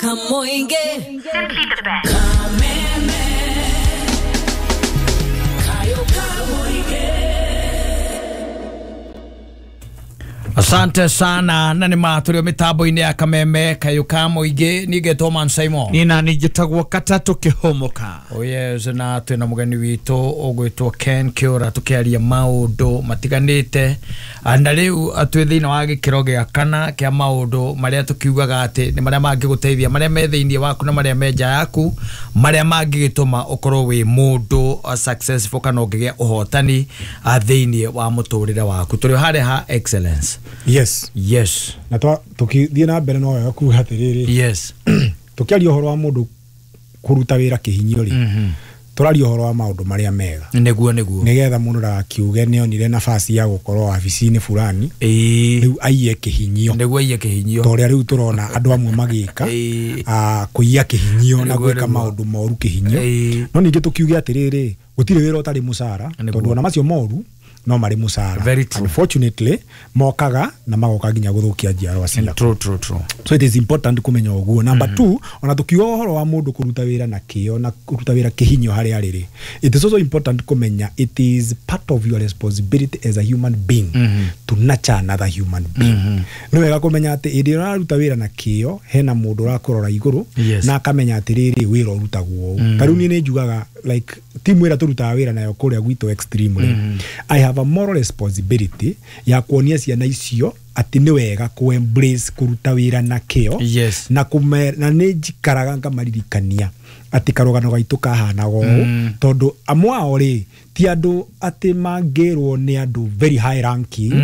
Kamoinge. Simply the best. Kameme. Kayo Kamoinge. Asante sana na nĩ matũrĩ mĩtambo-inĩ ya Kameme Kayũ ka Mũingĩ. Niĩ ngetwo Man Simon. Nina nijitagwo Katatu Kihomoka. Oh yes, na twĩna mũgeni witũ ũgwĩtwo Ken Kĩũra, tũkĩaria maũndũ matiganĩte. Na rĩu twĩ thĩinĩ wa gĩkĩro gĩa kana kĩa maũndũ marĩa tũkiugaga atĩ nĩ marĩa mangĩgũteithia, marĩa me thĩinĩ waku na marĩa me nja yaku, marĩa mangĩgĩtũma ũkorwo wĩ mũndũ successful kana ũngĩgĩa ũhotani thĩinĩ wa mũtũrĩre waku. Tũrĩ harĩa ha excellence. Yes. Yes. Na tukithie na mbere no wega kuga atiriri. Yes. Tukiaria uhoro wa mundu kuruta wira kihinyio ri. Turaria uhoro wa maundu maria mega. Niguo niguo. Nigetha mundu ndagakiuge ni onire nafasi ya gukorwo wabici-inĩ fulani. Riu aiye kihinyio. Niguo aiye kihinyio. Toria riu turona andu amwe magika kuiya kihinyio na gwika maundu moru kihinyio. No ningi tukiuge atiriri gutiri wira utari mucara tondu ona macio moru no mari mucara. Unfortunately mokaga na magoka nginya guthukia njiarwa ciaku. True, true, true. So it is important kumenya uguo. Number 2, ona tukiuga uhoro wa mundu kuruta wira na kio na kuruta wira kihinyo hari ariri, it is also important kumenya it is part of your responsibility as a human being to nurture another human being. Ni wega kumenya ati iri uraruta wira na kio hena mundu urakurora iguru na akamenya atiriri wira urutagwo uu. Ta riu nie ni njugaga like timu ira turutaga wira nayo kuria gwitu extremely, I have a moral responsibility ya kuonia ciana icio ati ni wega ku embrace kuruta wira na kio. Yes. Na na ni njikaraga ngamaririkania ati karugano gaitu kahanaga ũũ, tondu amwe ao ri ti andu ati mangirwo ni andu very high ranking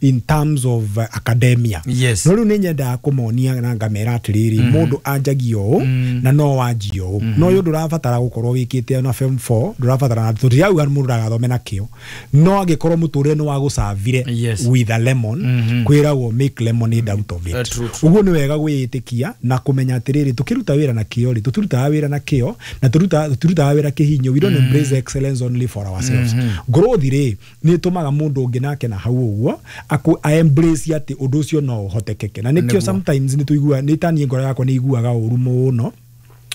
in terms of academia. Yes. No riu ni nyendaga kumonia na ngamera atiriri mundu anjagia ũũ na no wanjia ũũ, no ũyũ ndũrabatara gukorwo wikite na form 4, ndũrabatara na tũtirauga mundu ndagathome na kĩo, no angĩkorwo mũtũrĩre nĩ wagũcavire with a lemon, kwĩragwo make lemonade out of it. Ũguo nĩ wega gwĩĩtĩkia na kũmenya atĩrĩrĩ tũkĩruta wĩra na kĩo rĩ, tũtirutaga wĩra na kĩo na tũtirutaga wĩra kĩhinyo. We don't embrace excellence only for ourselves. Growth rĩ nĩ ĩtũmaga mũndũ ũngĩ nake na hau ũguo a embrace atĩ ũndũ ũcio no ũhotekeke. Na nĩkĩo sometimes nĩ tũiguaga, nĩ taniĩ ngoro yakwa nĩ iguaga ũru mũno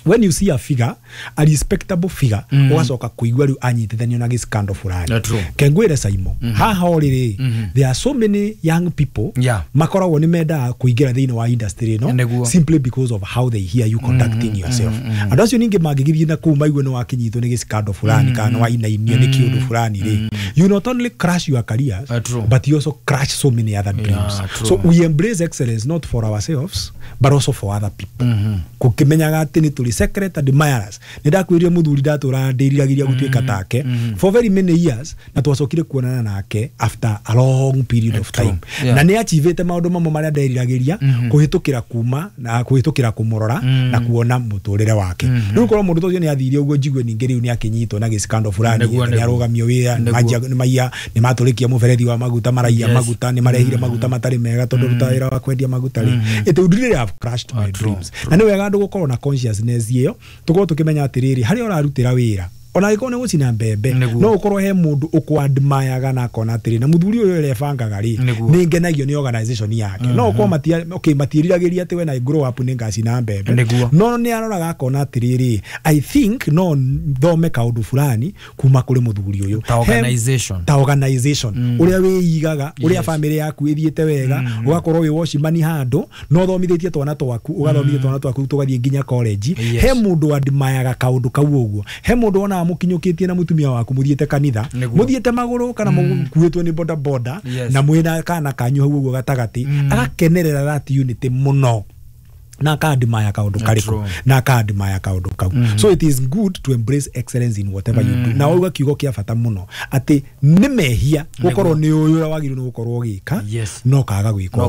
when you see a figure, a respectable figure, ugacoka kuigua riu anyitithanio na gĩcikando fulani. Kengwire Saimo, haha orĩrĩ, there are so many young people makoragwo nĩ mendaga kũingĩra thĩinĩ wa industry ĩno simply because of how they hear you conducting yourself. Andũ acio ningĩ mangĩgĩthiĩ na kũu maigue nĩ wakinyitwo nĩ gĩcikando fulani kana nĩ wainainio nĩ kĩũndũ fulani rĩ, you not only crash your careers, but you also crash so many other dreams. So we embrace excellence not for ourselves but also for other people. Kũkĩmenyaga atĩ nĩ tũrĩ secret admirers. Nĩ ndakwĩrire mũthuri ndatũraga ndĩriragĩria gũtuĩka take for very many years, na twacokire kuonana nake after a long period of time. Na nĩ achievete maũndũ mamwe marĩa nderiragĩria kũhĩtũkĩra kuma na kũhĩtũkĩra kũmũrora na kuona mũtũrĩre wake. Rĩu korwo mũndũ ũcio nĩ athire ũguo njigue ningĩ rĩu nĩ akĩnyitwo na gĩcikando fulani, nĩ arũgamio wĩra, nĩ maiya, nĩ matũrĩkia mũberethi wa maguta, maraiya maguta, nĩ marehire maguta matarĩ mega tondũ ruta wĩra wa kwendia maguta rĩ, it would really have crushed my dreams. Na nĩ wega andũ gũkorwo na consciousness ĩyo, tukorwo tukimenya atiriri haria urarutira wira ona angĩkorwo nĩ gũcina mbembe, no ũkorwo he mũndũ ũkwadmireaga na akona atĩrĩ na mũthuri ũyũ ũrebangaga rĩ, nĩ ngenagio nĩ organization yake. No ũkorwo matiĩriragĩria atĩ when I grow up nĩ ngacina mbembe, no nĩ aroraga akona atĩrĩrĩ, I think no thome kaũndũ fulani kuma kũrĩ mũthuri ũyũ. Ta organization ũrĩa wĩigaga, ũrĩa family yaku ĩthiĩte wega, ũgakorwo wĩ watchman handũ no thomithĩtie twana twaku, ũgathomithia twana twaku tũgathiĩ nginya college. He mũndũ admireaga kaũndũ kau ũguo, he mũndũ wonaga mukinyukitie na mutumia waku muthiete kanitha, muthiete maguru kana mukuitwo ni boda boda, na mwina kana kanyu hau uguo gatagati, agakenerera that unity muno na akadmire kaundu kariku na akadmire kaundu kau. So it is good to embrace excellence in whatever you do. Na uga kiugo kia bata muno ati ni mehia gukorwo ni uyu uria wagiriirwo ni gukorwo ugika no kaga gwika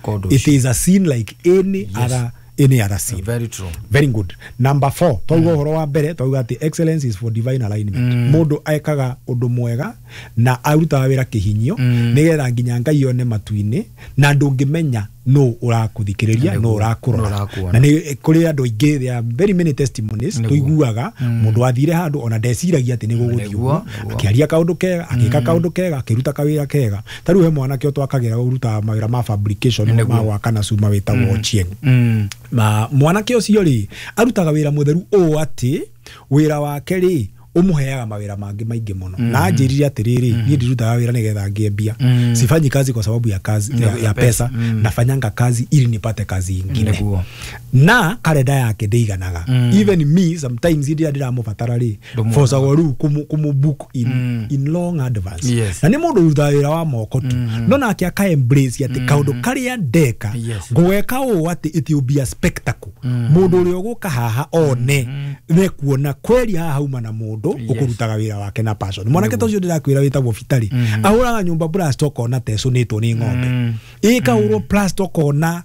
undu. It is a sin like any other any other sin. Very true. Very good. Number 4, twauga uhoro wa mbere twauga ati excellence is for divine alignment. Mundu ekaga undu mwega na arutaga wira kihinyio nigetha nginya Ngai one matu-inĩ, na ndũngĩmenya no ũrakũthikĩrĩria no ũrakũrora na nĩ kũrĩ andũ aingĩ there are very many testimonies tũiguaga mũndũ athire handũ ona ndeciragia atĩ nĩ gũgũthiĩ ũguo akĩaria kaũndũ kega agĩka kaũndũ kega akĩruta kawĩra kega. Ta rĩu he mwanake twakagĩra ũrutaga mawĩra ma fabrication ma gwaka na cuma wĩtagwo Ochieng. Mwanake ũcio rĩ arutaga wĩra mũtheru ũũ atĩ wĩra wake rĩ umuheaga mawira mangi maingi muno na anjirire atiriri nie ndirutaga wira nigetha ngie mbia. Sifanyi kazi kwa sababu ya kazi ya pesa, nafanyanga kazi ili nipate kazi ingine. Na kalenda yake ndiganaga. Even me sometimes ndia ndiramubatara ri for riu kumu book in long advance. Na ni mundu urutaga wira wa moko tu no nake aka embrace ati kaundu karia ndeka ngweka uu ati it will be a spectacle. Mundu uria uguka haha one ne kuona kweli haha hauma na mundu ukurutaga wira wake na passion. Mwanake ta ucio ndirakwira witagwo Bitari ahuraga nyumba plaster ukona tecunitwo ni ng'ombe ikahurwo plaster ukona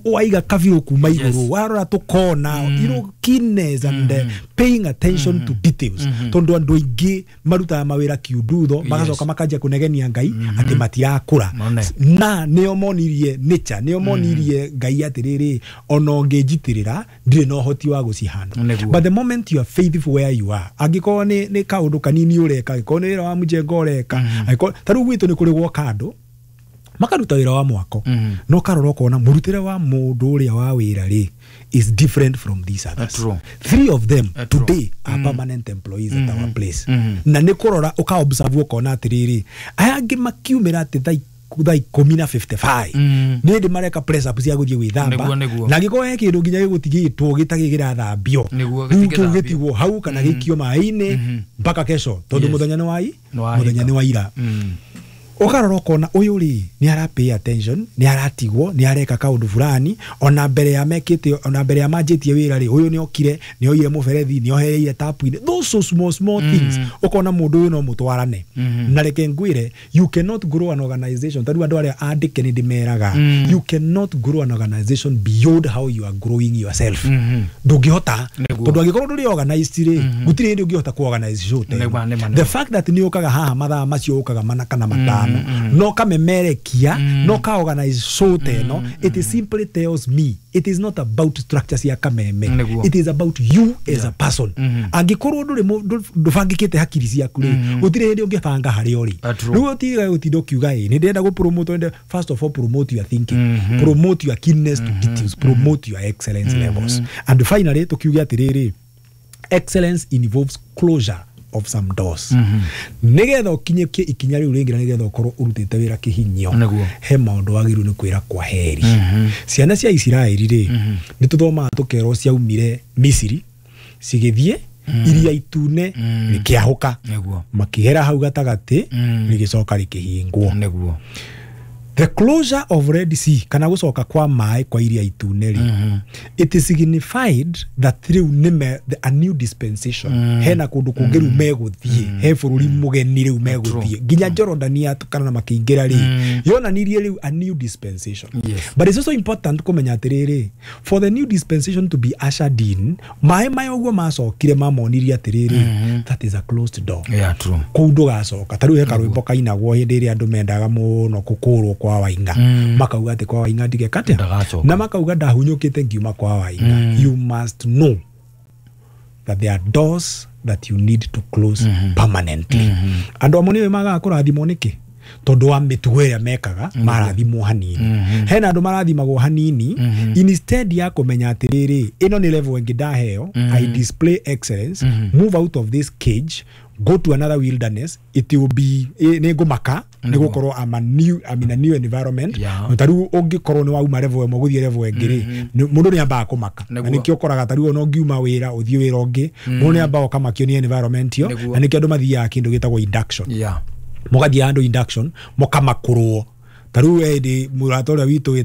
waiga kabiru kuma iguru warora tukona you know, keenness and paying attention to details. Tondu andu aingi marutaga mawira kiundutho magacoka makanjia kunegenia Ngai ati matirakura na nio monirie nature nio monirie Ngai atiriri ona unginjitirira ndire na uhoti wa gucihanda. But the moment you are faithful where you are, angikorwo ni kaundu kanini ureka, angikorwo ni wira wa mjengo ureka, angikorwo ta riu gwitu ni kuri gwoka andu makaruta wira wa mwako no karora ukona murutire wa mundu uria wa wira ri is different from these others. Three of them today are permanent employees at our place. Na ni kurora uka observe ukona atiriri aya angi makiumira ati thaa 10:55 ni ndi mareka press up cia guthie gwithamba na gikorwo he kindu nginya gigutigitwo gitagigirathambio riu gitigwo hau kana gikio mai-ini mpaka kesho tondu muthenya ni wai muthenya ni waira. Ukarora ukona uyu ri ni ara pay attention, ni aratigwo, ni areka kaundu fulani ona mbere ya mekite ona mbere ya manjitie wira ri uyu ni okire ni oire muberethi ni ohereire tap ini those so small small things ukona mundu uyu no mutwarane. Na reke ngwire you cannot grow an organization taru andu aria andike ni ndimeraga you cannot grow an organization beyond how you are growing yourself. Ndungihota tondu angikorwo nduri organized ri gutiri hindi ungihota ku organize show. The fact that ni ukaga haha mathaa macio ukaga mana kana matano no kamemerekia no ka organize show teno it simply tells me it is not about structures ya kameme. It is about you as a person. Angikorwo nduri ndubangikite hakiri ciaku ri gutiri hindi ungibanga hari uri riu utiga gutinda ukiuga ni ndenda gu promote. First of all, promote your thinking, promote your keenness to details, promote your excellence levels, and finally tukiuga atiriri excellence involves closure of some doors. Nigetha ukinyikie ikinya riu ringi na nigetha ukorwo urutite wira kihinyio he maundu wagiru ni kwira kwa heri. Ciana cia Isiraeli ri ni tuthomaga tukerwo ciaumire Misiri cigithie iria itune rikiahuka makihera hau gatagati rigicoka rikihingwo. The closure of Red Sea kana gucoka kwa mai kwa iria itune ri it signified that riu nime a new dispensation hena kundu kungi riu meguthie he bururi mugeni riu meguthie nginya Jordan atukana na makiingira ri yonanirie riu a new dispensation. But it's also important kumenya atiriri for the new dispensation to be ushered in mai mai uguo macokire mamonirie atiriri that is a closed door. Kuu ndugacoka ta riu he karwimbo kainagwo hindi iria andu mendaga muno gukurwo kwa Wainga makauga ati kwa Wainga ndigeka atia na makauga ndahunyukite ngiuma kwa Wainga. You must know that there are doors that you need to close permanently. Andu amwe ni magaga kurathimwo niki tondu wa mitugo ĩrĩa mekaga marathimwo hanini. Hena andu marathimagwo hanini instead ya kumenya atiriri ino ni level ĩngĩ ndaheo. I display excellence, move out of this cage, go to another wilderness. It will be nĩngũmaka nĩgũkorwo I'm in a new environment. Ta rĩu ũngĩkorwo nĩ wauma level ĩmwe gũthiĩ level ĩngĩ rĩ mũndũ nĩ ambaga kũmaka na nĩkĩo ũkoraga ta rĩu ona ũngiuma wĩra ũthiĩ wĩra ũngĩ mũndũ nĩ ambaga ũkamakio nĩ environment ĩyo na nĩkĩo andũ mathiaga kĩndũ gĩtagwo induction. Mũgathiĩ handũ induction mũkamakurwo ta rĩu ĩndĩ mũrata ũrĩa witũ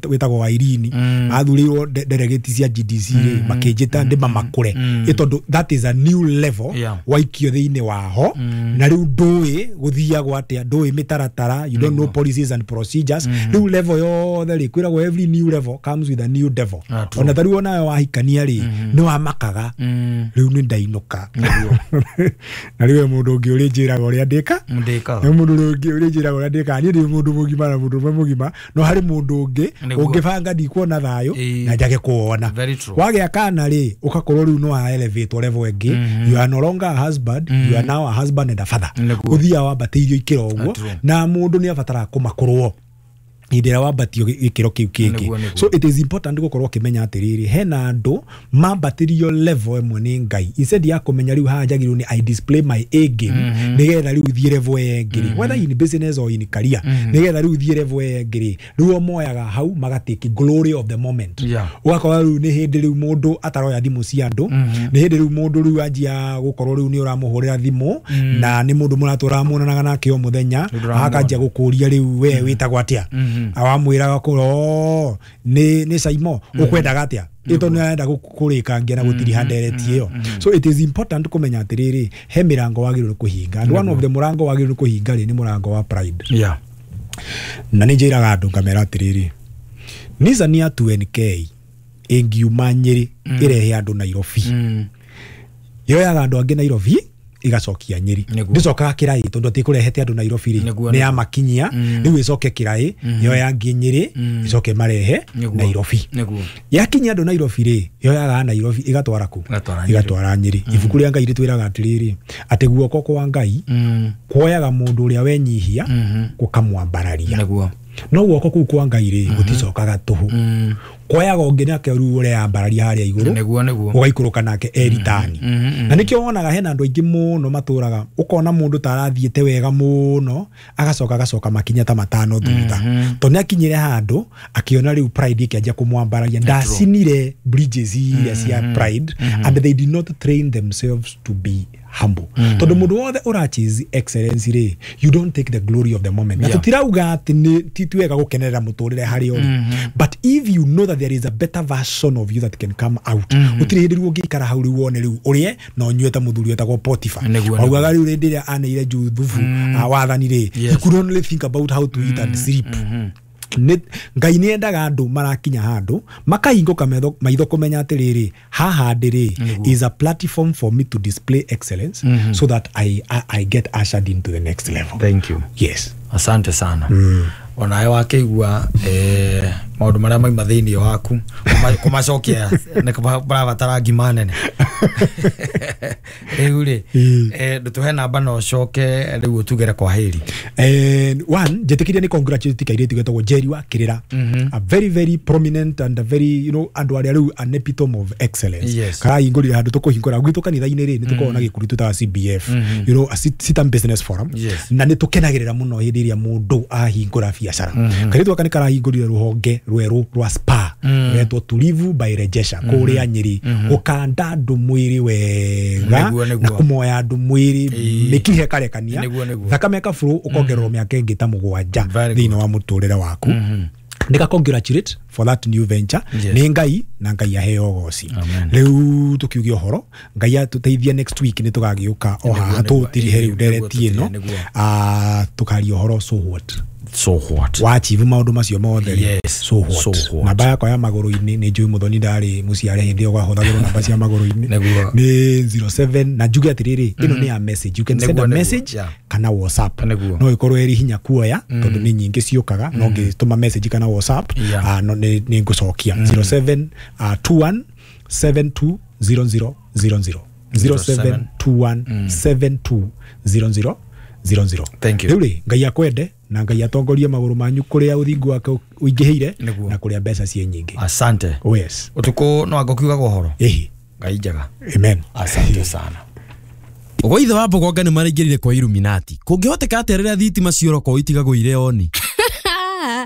wĩtagwo Wairini athurirwo delegate cia GDC rĩ makĩnjĩta ndĩmamakũre ĩ tondũ that is a new level waikio thĩinĩ waho na rĩu ndũĩ gũthiagwo atĩa ndũĩ mĩtaratara you don't know policies and procedures. Rĩu level yothe rĩ kwĩragwo every new level comes with a new devil. Ona ta rĩu onawe wahikania rĩ nĩ wamakaga rĩu nĩ ndainũka na rĩu mũndũ ũngĩ ũrĩ njĩraga ũrĩa ndĩka nĩ mũndũ ũngĩ ũrĩ njĩraga ũrĩa ndĩka niĩ ndĩ mũndũ mũgima na mũndũrũme mũgima no harĩ mũndũ ũngĩ ũngĩbanga ndikuona thayũ na njage kuona. Wagĩa kana rĩ ũgakorwo rĩu no elevate level ĩngĩ. You are no longer a husband, you are now a husband and a father. Ũthiaga wambatĩirio ikĩro ũguo na mũndũ nĩ abataraga kũmakũrwo hĩndĩ ĩrĩa wambatio gĩkĩro kĩu kĩngĩ. So it is important gũkorwo ũkĩmenya atĩrĩrĩ hena andũ mambatĩrio level ĩmwe nĩ Ngai instead ya kũmenya rĩu haha njagĩrĩirwo nĩ I display my A game nĩgetha rĩu thiĩ level ĩyo ĩngĩ rĩ, whether in business or in career, nĩgetha rĩu thiĩ level ĩyo ĩngĩ rĩ, rĩu o moyaga hau magatake glory of the moment. Ũgakora rĩu nĩ hĩndĩ rĩu mũndũ ataroya thimũ cia andũ, nĩ hĩndĩ rĩu mũndũ rĩu anjia gũkorwo rĩu nĩ ũramũhũrĩra thimũ na nĩ mũndũ mũratũra muonanaga nake o mũthenya, akanjia gũkũria rĩu we wĩtagwo atĩa, awamwĩraga kũro nĩ Saimo ũkwendaga atĩa ito nĩ arenda kũrĩkangia na gũtiriha ndereti ĩyo. So it is important kũmenya atĩrĩrĩ he mĩrango wagĩrĩirwo kũhinga, and one of the mũrango wagĩrĩirwo kũhinga rĩ nĩ mũrango wa pride. Na nĩ njĩraga andũ ngamera atĩrĩrĩ Nissan ya 2NK ĩngiuma Nyĩrĩ ĩrehe andũ Nairobi, yoyaga andũ angĩ Nairobi igacokia Nyĩrĩ, ndĩcokaga Kĩraĩ tondũ atĩ kũrehete andũ Nairobi rĩ nĩ yamakinyia, rĩu ĩcoke Kĩraĩ yoya angĩ Nyĩrĩ ĩcoke marehe Nairobi. Yakinyia andũ Nairobi rĩ yoyaga Nairobi ĩgatwara kũ? Ĩgatwara Nyĩrĩ. Ibuku rĩa Ngai rĩtwĩraga atĩrĩrĩ atĩ guoko kwa Ngai kuoyaga mũndũ ũrĩa wenyihia gũkamwambararia, no guoko kũu kwa Ngai rĩ gũticokaga tũhũ, kuoyaga ũngĩ nake rĩu ũrĩa ambararia harĩa igũrũ ũgaikũrũka nake eritani. Na nĩkĩo wonaga hena andũ aingĩ mũno matũraga ũkona mũndũ ta arathiĩte wega mũno agacoka agacoka makinya ta matano thutha, tondũ nĩ akinyire handũ akĩona rĩu pride ĩkĩanjia kũmwambararia. Ndacinire bridges iria cia pride and they did not train themselves to be humble. Tondũ mũndũ wothe ũrachase excellence rĩ, you don't take the glory of the moment. Na tũtirauga atĩ ti wega gũkenerera mũtũrĩre harĩa ũrĩ, but if you know that there is a better version of you that can come out, gũtirĩ hĩndĩ rĩu ũngĩikara hau rĩu wone rĩu ũrĩe na ũnyue ta mũthuri wetagwo Potiphar. Waugaga rĩu hĩndĩ ĩrĩa aneire Juthubu wathani rĩ, he could only think about how to eat and sleep. Ngai nĩ endaga andũ marakinya handũ makahingũka maitho kũmenya atĩrĩrĩ haha ndĩrĩ is a platform for me to display excellence so that I get ushered into the next level. Thank you. Yes. Asante sana. Onawe wakĩigua maũndũ marĩa mauma thĩinĩ waku kũmacokia nĩ kũrabatara ngima nene. Rĩu rĩ ndũtũhe namba na ũcoke rĩu ũtugere kwa heri. One, njĩtĩkĩria nĩ congratulate kairĩtu getagwo Jerry wa Kĩrĩra, a very very prominent and a very, you know, andũ arĩa rĩu an epitome of excellence. Karahingũrire handũ tũkũhingũra gwitũ kanitha-inĩ rĩ nĩ tũkoragwo na gĩkundi tũtaga CBF, you know, a Sitam Business Forum, na nĩ tũkenagĩrĩra mũno hĩndĩ ĩrĩa mũndũ ahingũra biacara. Kairĩtu gaka nĩ karahingũrire rũhonge rwerũ rwa spa rwetwo Tulivu by Rejesha kũrĩa Nyĩrĩ, gũkanda andũ mwĩrĩ wega na kũmoya andũ mwĩrĩ mĩkihe karekania thakame kaburu ũkongererwo mĩaka ĩngĩ ta 7 thĩinĩ wa mũtũrĩre waku. Nika congratulate for that new venture. Nĩ Ngai na Ngai aheo ũgoci. Rĩu tũkiuge ũhoro Ngai atũteithie next week nĩ tũgagĩũka o haha tũtirihe rĩu ndereti ĩno tũkaria ũhoro so what. So what? Wachieve maũndũ macio mothe. Yes. So what? So what? Namba yakwa ya magũrũ-inĩ nĩ njũĩ Mũthoni ndarĩ mũciare hĩndĩ ĩyo gwahũthagĩrwo namba cia magũrũ-inĩ nĩ 07 na njuge atĩrĩrĩ ĩno nĩ ya message, you can send a message kana WhatsApp, no ĩkorwo ĩrĩ hinya kuoya tondũ nĩ nyingĩ ciũkaga, no ngĩtũma message kana WhatsApp no nĩ ngũcokia 07 21 72 00 00 0721 72 00 00. Thank you. Rĩu rĩ Ngai akwende na Ngai atongorie magũrũ manyu kũrĩa ũthingu wake ũingĩhĩire na kũrĩa mbeca ciĩ nyingĩ. Asante. Oh yes. Ũtukũ no angũkiugaga ũhoro. Ĩhi. Ngai njega. Amen. Asante sana. Ũguo ithe wa Mbogonga nĩ maraingĩrire kwa Illuminati. Kũngĩhoteka atĩa rĩrĩa thitima ciorokwo itigagwo irĩ oni?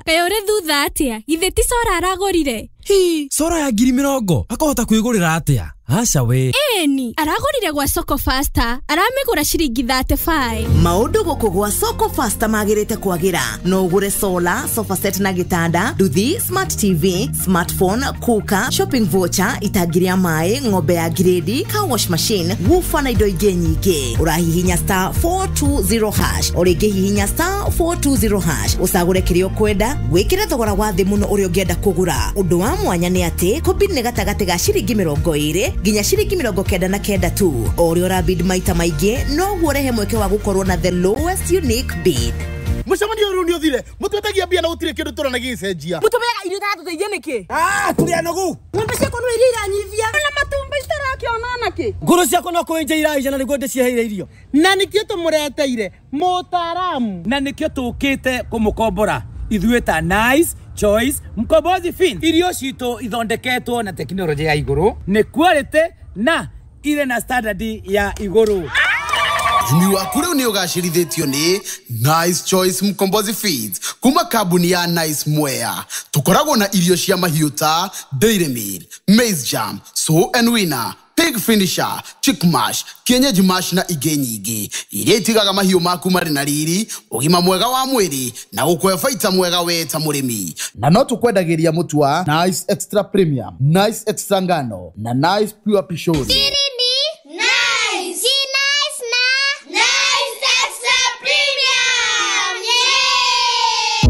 Kaĩ ũrĩ thutha atĩa? Githĩ ti cora aragũrire? Hi, cora ya 20,000 akahota kwĩgũrĩra atĩa? Aca we. Ĩni, aragũrire gwa Soko Faster, aramĩgũra ciringi 35. Maũndũ gũkũ gwa Soko Faster magĩrĩte kwagĩra. No ũgũre solar, sofa set na gĩtanda, nduthi, smart TV, smartphone, cooker, shopping voucher, itangi rĩa maĩ, ng'ombe ya grade, car wash machine, woofer na indo ingĩ nyingĩ. Ũrahihinya star 420 hash, o rĩngĩ hihinya star 420 hash, ũcagũre kĩrĩa ũkwenda, wĩkĩre thogora wa thĩ mũno ũrĩa ũngĩenda kũgũra. Ũndũ wa mwanya nĩ atĩ kũbid nĩ gatagatĩ ga ciringi 20 nginya ciringi 99 tu. O ũrĩa ũrabid maita maingĩ noguo ũrehe mweke wa gũkorwo na the lowest unique bid. Mũcemanio ũyũ rĩu nĩ ũthire. Mũtwetagia mbia na gũtirĩ kĩndũ tũrona gĩgĩcenjia. Mũtũmeaga irio itatũteithia nĩkĩ? Ah, tũrĩ anogu. Ng'ombe ciakwa no iria iranyivia. Na matumbĩ citarakĩona nakĩ? Ngũrũ ciakwa no kũenja iraija na nĩguo ndĩciheire irio. Na nĩkĩo tũmũreteire mũtaaramu. Na nĩkĩo tũkĩte kũmũkombora ithuĩ ta Nice Choice Mkombozi Fin. Irio citũ ithondeketwo na tekinoronjĩ ya igũrũ, nĩ quality na irĩ na standard ya igũrũ. Ũrĩmi waku rĩu nĩ ũgacĩrithĩtio nĩ Nice Choice Mkombozi Feeds kuma kambuni ya Nice Mwea. Tũkoragwo na irio cia mahiũ ta Dairy Meal, Maize Jam, Sow and Winner, Pig Finisher, Chick Mash, Kienyeji Mash na ingĩ nyingĩ iria itigaga mahiũ maku marĩ na riri, ũgima mwega wa mwĩrĩ na gũkũhe baita mwega we ta mũrĩmi. Na no tũkwendagĩria mũtu wa Nice Extra Premium, Nice Extra Ngano na Nice Pure Pishori. Nice. Nice na Nice Extra Premium. Yeah!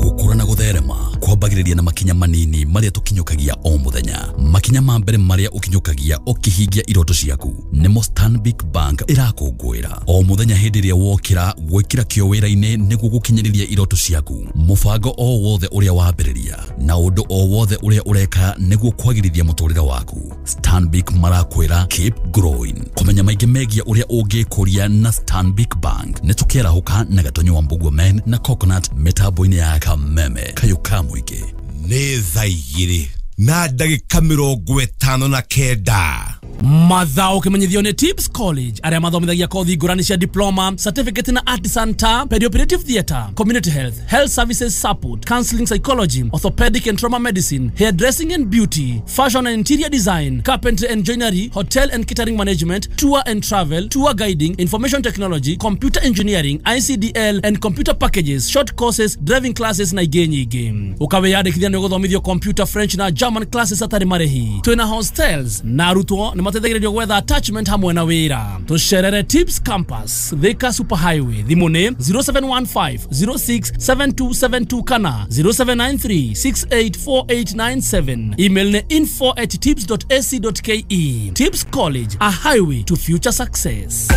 Gũkũra na gũtherema kwambagĩrĩria na makinya manini marĩa tũkinyũkagia o mũthenya. Makinya ma mbere marĩa ũkinyũkagia ũkĩhingia iroto ciaku nĩmo Stanbic Bank ĩrakũngũĩra o mũthenya hĩndĩ ĩrĩa wokĩra gwĩkĩra kĩo wĩra-inĩ nĩguo gũkinyĩrĩria iroto ciaku. Mũbango o wothe ũrĩa wambĩrĩria na ũndũ o wothe ũrĩa ũreka nĩguo kwagĩrithia mũtũrĩre waku, Stanbic marakwĩra keep growing. Kũmenya maingĩ megiĩ ũrĩa ũngĩkũria na Stanbic Bank nĩ tũkĩarahũka na Gatonyo wa Mbugua Men na Coconut mĩtambo-inĩ ya Kameme kayũ ka mũingĩ. Nĩ thaa 2 na ndagĩka 59. Mathao kimenyithio nĩ Tips College arĩa mathomithagia kothi ngũrani cia diploma, certificate na artisan ta perioperative theatre, community health, health services support, counseling psychology, orthopedic and trauma medicine, hairdressing and beauty, fashion and interior design, carpentry and joinery, hotel and catering management, tour and travel, tour guiding, information technology, computer engineering, ICDL and computer packages, short courses, driving classes na ingĩ nyingĩ. Ũkawĩyandĩkithia nĩ ũgũthomithio computer, French na German classes hatarĩ marĩhi. Twĩna hostels na arutwo nĩ mateithagĩrĩrio gwetha attachment hamwe na wĩra. Tũcerere Tips Campus, Thika Super Highway. Thimũ nĩ 0715 067272 kana 0793 684897. Email nĩ info@tips.ac.ke. Tips College, a highway to future success.